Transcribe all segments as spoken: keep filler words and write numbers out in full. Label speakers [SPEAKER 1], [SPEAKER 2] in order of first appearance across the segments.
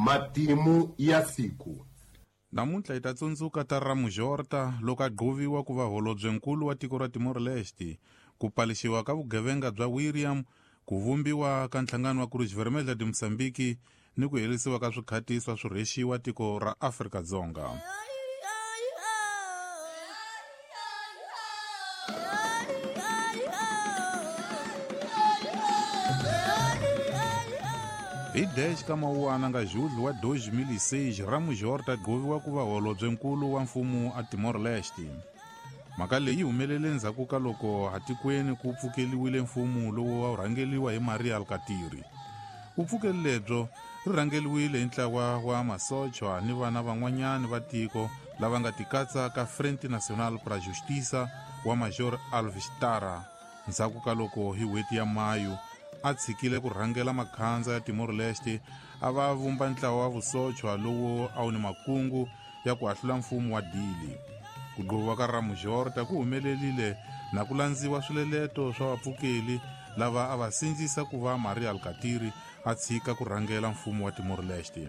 [SPEAKER 1] Matimu ya siku.
[SPEAKER 2] Namuntlha hi ta tsundzuka ta Ramujorta loko a gqoviwa ku va holobyenkulu wa tiko ra Timor-Leste, ku palixiwa ka vugevenga bya William, ku vumbiwa ka nhlangano wa Cruz Vermelha de Moçambique ni ku herisiwa ka swikhatiso swo rhexiwa tiko ra Afrika-Dzonga. Hi dez ka Mawuwana nga julho wa dois mil e seis, Ramujorta gqoviwa ku va holobyenkulu wa mfumo a Timor-Leste. Mhaka leyi humelele ndzhaku ka loko atikweni ku pfukeliwile mfumo lowu a wu rhangeliwa hi Maria Alkatiri. Vupfukeli lebyo ri rhangeliwile hi ntlawa wa masochwa ni vana van'wanyani va tiko lava nga tikatsa ka Frente Nacional pra Justiça wa Major Alves Tara ndzhaku ka loko hi n'hweti ya Mayu a tshikile ku rhangela makhandza ya Timor-Leste a va vumba ntlawa wa vusochwa lowu a wu ni makungu ya ku hahlula mfumo wa Dili. Ku gqoviwa ka Ramujorta ku humelerile na ku landziwa swileleto swa vapfukeli lava a va sindzisa ku va Maria Alkatiri a tshika ku rhangela mfumo wa Timor-Leste.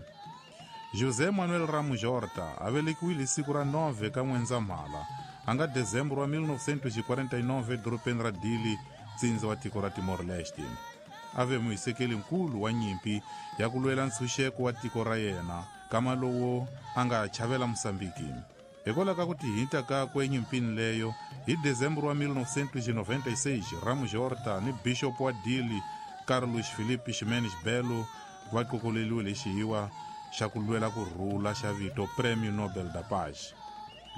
[SPEAKER 2] José Manuel Ramujorta a velekiwile siku ra nove ka N'wendzamhala a nga Dezembro wa mil novecentos e quarenta e nove edorobeni ra Dili, ntsindza wa tiko ra Timor-Leste. A ve muhisekeli nkulu wa nyimpi ya ku lwela ntshunxeko wa tiko ra yena, kama lowo a nga chavela Mosambiki. Hikwalaho ka ku tihinta kakwe enyimpini leyo, hi Dezembro wa mil novecentos e noventa e seis, Ramujorta ni Bishop wa Dili Carlos Filipe Ximenes Belo va qokoleliwile hi xihiwa xa ku lwela ku rhula xa vito Prêmio Nobel da Paz.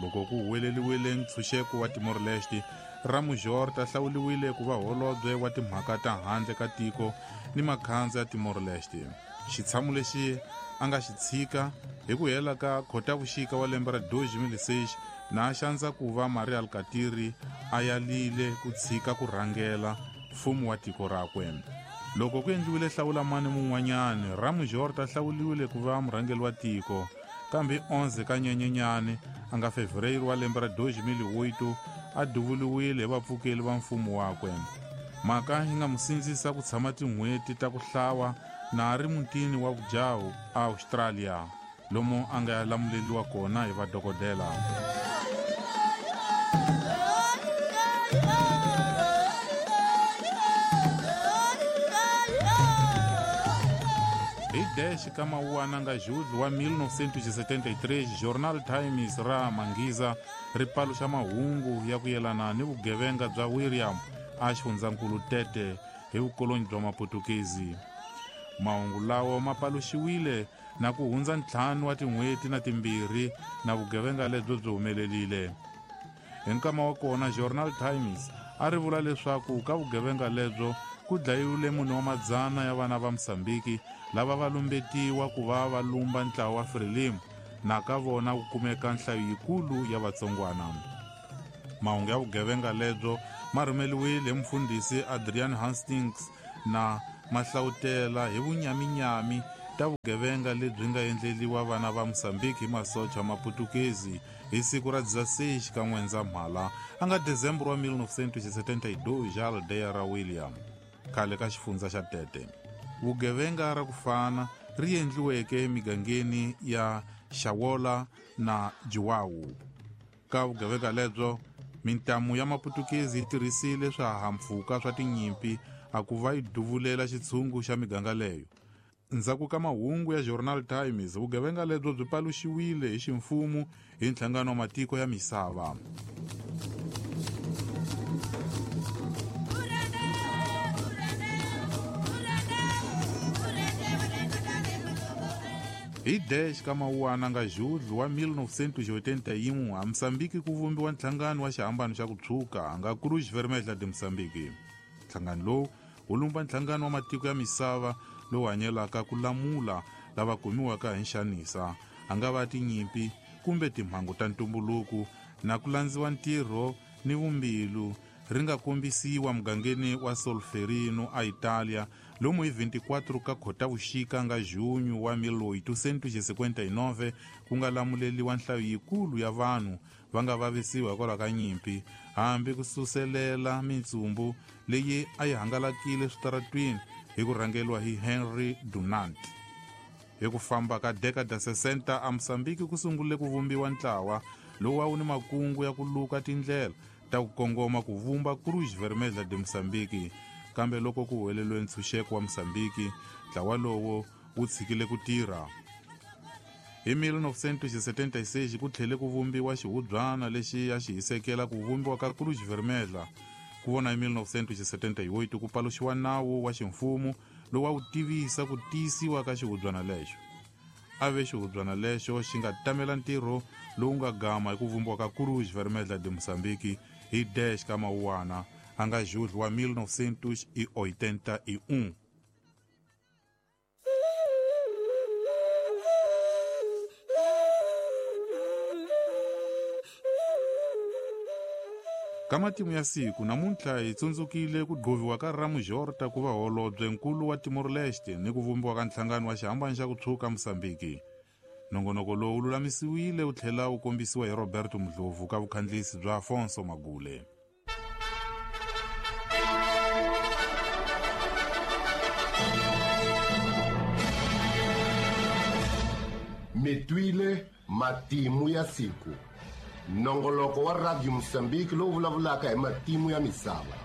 [SPEAKER 2] Loko ku huweleliwile ntshunxeko wa Timor-Leste, Ramujorta hlawuliwile ku va holobye wa timhaka ta handle ka tiko ni makhandza ya Timor-Leste. Xitshamo lexi a nga xi tshika hi ku hela ka Khotavuxika wa lembe ra dois mil e seis na a xandza ku va Maria Alkatiri a yalile ku tshika ku rhangela mfumo wa tiko rakwe. Loko ku endliwile hlawulamani mun'wanyani, Ramujorta hlawuliwile ku va murhangeri wa tiko, kambe onze ka Nyenyenyani a nga Fevereiro wa lembe ra dois mil e oito a duvuliwile hi vapfukeli va mfumo wakwe. Mhaka yi nga mu sindzisa ku tshama tin'hweti ta ku hlawa na a ri mutini wa vujaho a Australia, lomu a nga lamuleliwa kona hi vadokodela. Hi dez ka Mawuwana nga julho wa mil novecentos e setenta e três, Jornal Times ra Mangiza ri paluxa mahungu ya ku yelana ni vugevenga bya William a xifundzankulu Tete hi vukoloni bya Maputukezi. Mahungu lawo ma paluxiwile na ku hundza ntlhanu wa tin'hweti na timbirhi na vugevenga lebyo byi humelelile. Hi nkama wa kona, Journal Times a ri vula leswaku ka vugevenga lebyo ku dlayiwile mune wa madzana ya vana va Mosambiki lava va lumbetiwa ku va va lumba ntlawa wa Frelimo na ka vona ku kumeka nhlayo yikulu ya vatsongwana. Mahungu ya vugevenga lebyo ma rhumeliwile hi mufundhisi Adrian Hastings na mahlawutela hi vunyaminyami ta vugevenga lebyi nga endleliwa vana va Mosambiki hi masocha Maputukezi hi siku ra dezesseis ka N'wendzamhala a nga Dezembro wa mil novecentos e setenta e dois aldeia ra William, khale ka xifundza xa Tete. Vugevenga ra ku fana ri endliweke emigangeni ya Xawola na Jiwawu. Ka vugevenga lebyo, mintamu ya Maputukezi yi tirhisile swihahampfhuka swa tinyimpi a ku va yi duvulela xitshungu xa miganga leyo. Ndzhaku ka mahungu ya Journal Times, vugevenga lebyo byi paluxiwile hi ximfumo hi nhlangano wa matiko ya misava. Hi dez ka Mawuwana nga julho wa mil novecentos e oitenta e um, a Moçambique ku vumbiwa nhlangano wa xihambano xa ku tshwuka nga Cruz Vermelha de Moçambique. Nhlangano lowu wu lumba nhlangano wa matiko ya misava lowu hanyelaka ku lamula lava kumiwaka hi nxanisa, a nga va tinyimpi kumbe timhangu ta ntumbuluko na ku landziwa ntirho ni vumbilu ri nga kombisiwa mugangeni wa Solferino a Italia lomu hi vinte e quatro ka Khotavuxika nga junho wa mil oitocentos e cinquenta e nove ku nga lamuleliwa nhlayo yikulu ya vanhu va nga vavisiwa hikwalaho ka nyimpi, hambi ku suselela mintsumbu leyi a yi hangalakile switaratwini hi ku rhangeriwa hi Henry Dunant. Hi ku famba ka década sessenta a Moçambique ku sungule ku vumbiwa ntlawa lowu a wu ni makungu ya ku luka tindlela ta ku kongoma ku vumba Cruz Vermelha de Moçambique. Kambe loko ku huweleliwe ntshunxeko wa Moçambique, ntlawa lowo wu tshikile ku tirha. Hi mil novecentos e setenta e seis ku tlhele ku vumbiwa xihubyana lexi a xi hisekela ku vumbiwa ka Cruz Vermelha. Ku vona hi mil novecentos e setenta e oito ku paluxiwa nawu wa ximfumo lowu a wu tivisa ku tiyisiwa ka xihubyana lexo. A ve xihubyana lexo xi nga tamela ntirho lowu nga gama hi ku vumbiwa ka Cruz Vermelha de Moçambique hi dez ka Mawuwana a nga julho wa mil novecentos e oitenta e um. Ka matimu ya siku namuntlha hi tsundzukile ku gqoviwa ka Ramos Horta ku va holobye nkulu wa Timor-Leste ni ku vumbiwa ka nhlangano wa xihambano xa ku tshwuka Moçambique. Nongonoko lowu wu lulamisiwile wu tlhela wu kombisiwa hi Roberto Mdlovu ka vukhandlisi bya Afonso Magule.
[SPEAKER 1] Mi twile matimu ya siku. Nongoloko wa Radio Moçambique lowu vulavulaka hi matimu ya misava.